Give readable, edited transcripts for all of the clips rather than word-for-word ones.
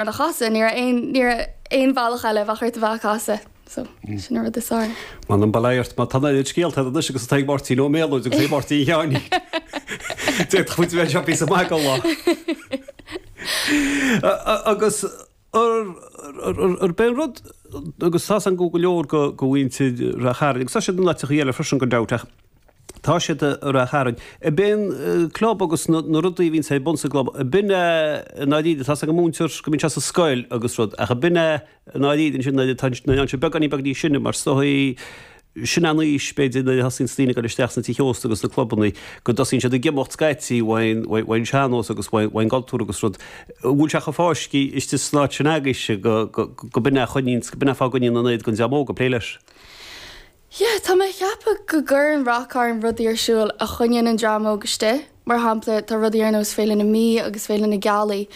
A chasadh, ní raibh aon, ní raibh aon bhealach eile, bheadh ort a bheith á casadh. So, sin an rud is fearr. M'anam bail ort, má tá an oiread scéalta agat anois agus atá ag Máirtín Ó Méalóid agus ag Máirtín Sheáinín. D'fhéadfadh muid a bheith anseo píosa maith den lá. Agus arb é an rud, agus tá's agam go leor de mhuintir Ráth Chairn, agus tá siad in áiteachaí eile freisin gan dabht, ach Tá siad i Ráth Chairn. Ab é an club agus na rudaí a bhíonns ar bun sa gclub, ab in é i ndáiríre, tá's ag an múinteoir go mbíonn sé sa scoil agus rud, ach ab in é i ndáiríre ansin nuair atá nuair atá sé beagáinín beag níos sine mar is dóigh sin an aois b'fhéidir nuair a thosaíonns daoine ag dul isteach sna tithe ósta agus sna clubannaí go dtosaíonn siad ag imeacht scaití uaidh an sean-nós agus uaidh an gcultúr agus rud. An bhfuil sé chomh fáiscthe istigh san áit sin agaibhse go go b'in é a choinníonns, go b'in é an fáth a gcoinníonn an oiread den dream óg ag plé leis? Yeah, tá mé ag ceapadh go gcuireann Ráth Cairn rudaí ar siúl a choinníonn an dream óg istigh. Mar shampla, tá rudaí ar nós Féile na Mí agus Féile na Gealaí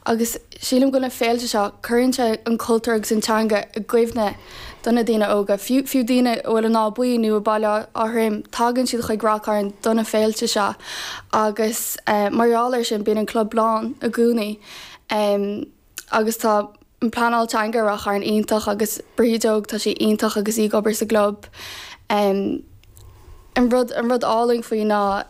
agus sílim go bhfuil na féilte seo, cuireann sé an cultúr agus an teanga i gcuimhne do na daoine óga. Fiú, fiú daoine a bhfuil in Áth Buí nó i Baile Átha Troim, tagann siad chuig Ráth Cairn do na féilte seo agus mar gheall air sin bíonn an club lán i gcónaí. Agus tá an pleanáil teanga i Ráth Chairn iontach agus Bríd Óg, tá sí iontach agus í ag obair sa gclub. An rud, an rud álainn faoi ná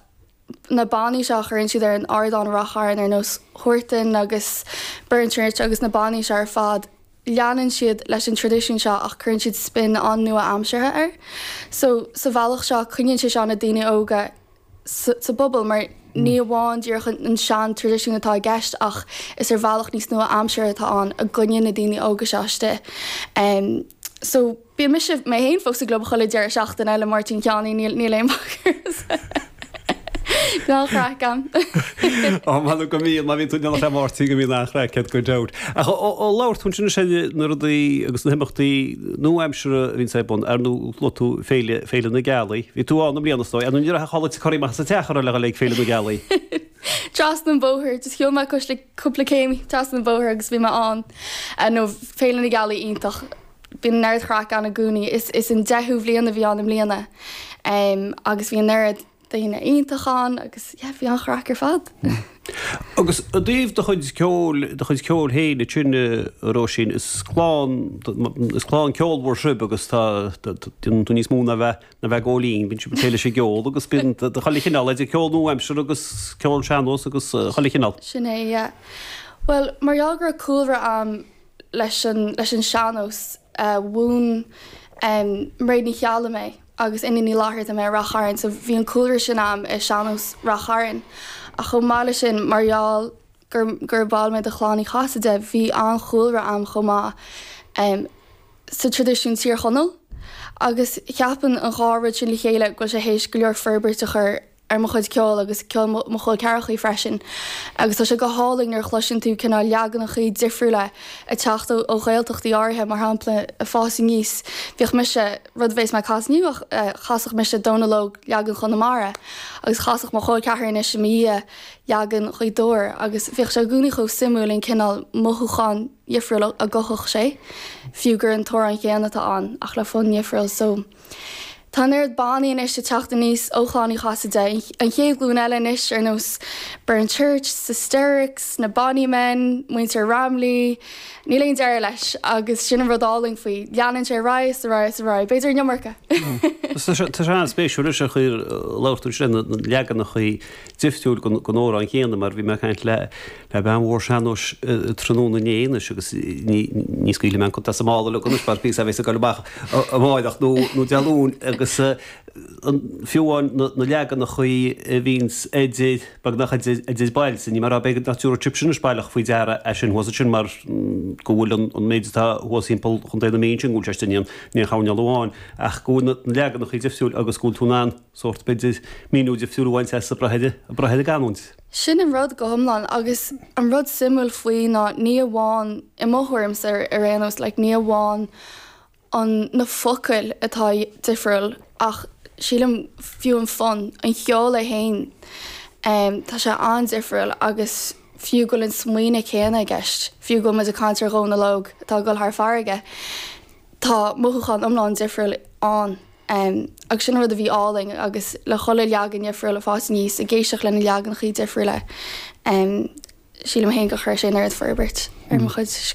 na bannaí seo a chuireann siad ar an ardán i Ráth Chairn ar nós Huartan agus Burren Church agus na bannaí seo ar fad, leanann siad leis an traidisiún seo ach cuireann siad spin an-nua-aimseartha air. So, sa bhealach seo coinníonn sé seo na daoine óga sa bpobal mar ní amháin díreach an sean-traidisiún atá i gceist ach is ar bhealach níos nua-aimseartha atá ann a gcoinníonn na daoine óga seo istigh. So bíonn mise mé féin fós sa gclub chuile deireadh seachtaine le Máirtín Sheáinín, níl níl aon bhac air. Bíonn an-chraic ann. Ó m'anam go mbíonn, má bhíonn tú in éineacht le Máirtín go mbíonn an-chraic agat gan dabht. Ach ó labhair tú ansin ar na rudaí agus na himeachtaí nua-aimseartha a bhíonns ar bun, ar ndóigh luaigh tú Féile, Féile na Gealaí. Bhí tú ann i mbliana is dóigh. Ar ndóigh ní raibh ach a chur amach as an teach a raibh le dhul ag Féile na Gealaí. Trasna an bhóthair, just shiúil mé cois le cúpla céim trasna an bhóthair agus bhí mé ann. Nó Féile na Gealaí iontach. Bíonn an oiread chraic ann i gcónaí. Is, is an deichiú bhliain a bhí ann i mbliana. Agus bhí an oiread daoine iontach ann agus yeah bhí an-chraic ar fad. Agus i dtaobh do chuid ceoil, do chuid ceoil féin ansin a Róisín, is clann, is clann ceolmhar sibh agus tá, déanann tú níos mó ná bheith, ná bheith ag ól fhíon, bíonn sibh ag plé leis an gceol agus bíonn de chuile chineál, idir ceol nua-aimseartha agus ceol sean-nós agus chuile chineál. Sin é, yeah. Bhuel, mar gheall go raibh cúlra a'm leis an, leis an sean-nós, mhúin Mairéad Ní Cheallaigh mé agus Iníon Ní Fhlatharta mé i Rath Chairn so bhí an cúlra sin a'm i sean-nós Rath Chairn. Ach chomh maith leis sin, mar gheall gur, gur ball mé de Chlann Uí Chasaide, bhí an-chúlra a'm chomh maith sa traidisiún Tír Chonaill agus cheapfainn an dhá rud sin le chéile go bhfuil sé théis go leor forbairt a chur ar mo chuid ceoil agus ceol mo chol ceathrachaí freisin. Agus tá sé go hálainn nuair a chloiseann tú cineál leaganachaí difriúla ag teacht ó Ghaeltachtaí áirithe, mar shampla, ag fás aníos, bhíodh mise, rud a bheas mé ag casadh inniu ach chasfadh mise Dónal Óg leagan Chonamara agus chasfadh mo chol ceathar anois i mo dhiaidh leagan Ghaoth Dobhair agus bhíodh sé i gcónaí chomh suimiúil an cineál mothúcháin dhifriúil a gcothódh sé, fiú gur an t-amhrán céanna atá ann ach le fonn dhifriúil. So. Tá an oiread bannaí anois ag teacht aníos ó Chlann Uí Chasaide, an chéad ghlúin eile anois ar nós Burren Church, Sisterics, na Bonny Men, muintir Ramley, níl aon deireadh leis agus sin an rud álainn faoi, leanann sé ar aghaidh is ar aghaidh is ar aghaidh, b'fhéidir an iomarca! Tá sé an-spéisiúil leis an chaoi ar labhair tú ansin, na leaganachaí difriúil den amhrán chéanna mar bhí mé ag caint le le bean mhór sean-nóis tráthnóna inné anois agus ní ní scaoilfidh mé an cut as an mála liom anois mar píosa a bheas ag dul amach amárach nó nó Dé Luain agus fiú amháin na na leaganachaí a bhíonns idir beagnach idir idir bailte ní mar a b'fhéidir nach dtabharfadh sibhse anois baileach faoi deara é sin thuas ansin mar go bhfuil an an méid atá thuas thimpeall Chontae na Mí ansin go bhfuil sé istigh in aon in aon choirnéal amháin ach go bhfuil na leaganachaí difriúil agus go bhfuil tú in ann sórt, b'fhéidir, míniú difriúil a bhaint as ag brath ar, ag brath ar an gcanúint. Sin an rud go hiomlán agus an rud suimiúil faoi ná ní amháin, i mo thuairimse ar aon nós, like ní amháin an, na focail atá difriúil ach sílim fiú an fonn, an cheol é féin, tá sé an-difriúil agus fiú go bhfuil an smaoineamh céanna i gceist, fiú go bhfuil muid ag caint ar Dhónal Óg atá ag dul thar farraige, tá mothúchán iomlán difriúil ann. Agus sin an rud a bhí álainn agus le chuile leagan difriúil ag fás aníos, ag éisteacht le na leaganachaí difriúla, sílim féin gur chuir sé an oiread forbairt. ar mo chuid.